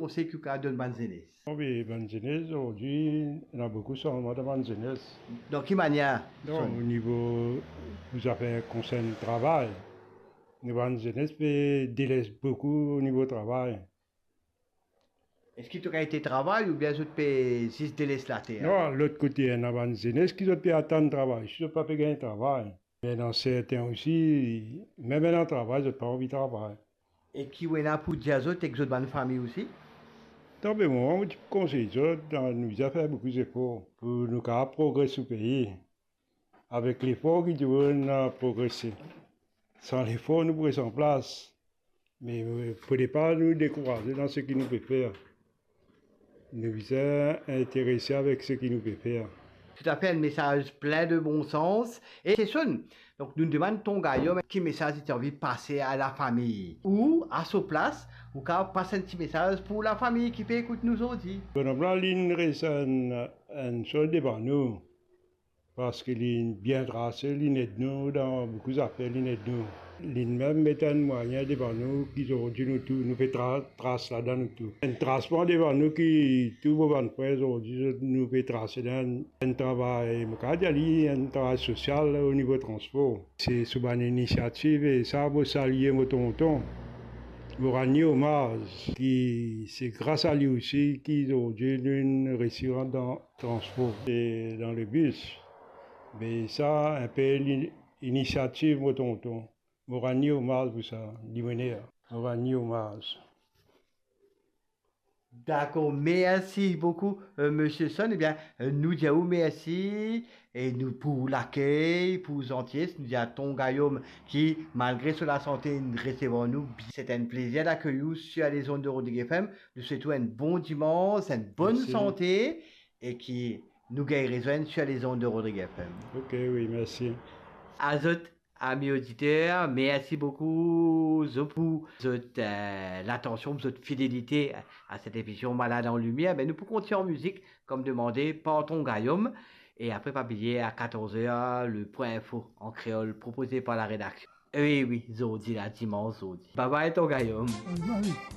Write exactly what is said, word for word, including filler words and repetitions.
konsey ki ou kapav donn bann zenes? Bon, be, bann zenes, zordi, ena boukou sanzman dan bann zenes. Dan ki manier? Non, o nivo, pou zafer konsern travay, nou bann zenes pe deles boukou o nivo travay. Eski to kapav travay oubien zot pe zis deles later? Non, lot kote, ena bann zenes ki zot pe atann travay, si zot pa pe gagn travay. Me ena sertin osi, mem ena travay, zot pa anvi travay. E ki ou ena pou dir zot ek zot bann fami osi? Dan be moman, mo ti pou konsey zot, dan nou bizin fer boukou zefor pou nou kapav progres nou pei. Avek lefor ki dimoun a progrese. San lefor, nou pou res anplas. Me, eh, fode pa nou dekouraze dan seki nou pe fer. Nou bizin interese avek seki nou pe fer. Toutafe, enn mesaz plin de bon sans. E Sesonn, donk nou demann Ton Gayom ki mesaz li ti anvi pase a lafami. Ou, a so plas, ou kapav pas enn ti mesaz pou lafami ki pe ekout nou zordi. Bonom la, li'nn res enn, enn sort devan nou. Parski li'nn bien trase, li'nn ed nou dan boukou zafer, li'nn ed nou. Li'nn mem met enn mwayin devan nou ki zordi nou tou, nou pe tra-, tras ladan nou tou. Enn trasman devan nou ki tou mo bann frer zordi, zot, nou pe trase dan enn travay, mo kapav dir li enn travay sosial o nivo transpor. Se sou bann inisiativ e sa, mo salie mo tonton, mo rann li omaz, ki se gras a li osi ki zordi nou'nn resi rant dan transpor e dan lebis. Me sa, inpe li-, inisiativ mo tonton. Mo rann li omaz pou sa, dimoner. Mo rann li omaz. Dakor, mersi boukou, eh, Misie Son. Ebien, eh, nou dir ou mersi e nou pou lakey, pou zanties. Nou dir a Ton Gayom ki, malgre so lasante, inn resevwar nou. Se enn plezir dakey ou sir lezond de Rodrigue F M. Nou swet ou enn bon dimans, enn bonn sante e ki nou gagn rezwenn sir lezond de Rodrigue F M. Ok, wi, mersi. Azot, ami oditer, mersi boukou zot pou zot, eh, latansion, zot fidelite a set emision Malad an Limier. Me nou pou kontign an mizik, kom demande par Ton Gayom. E apre, pa bliye, a katorz er, le Point Info an kreol, propoze par la redaksion. Wi, wi, zordi la, dimans zordi. Bye bye, Ton Gayom. Bye bye.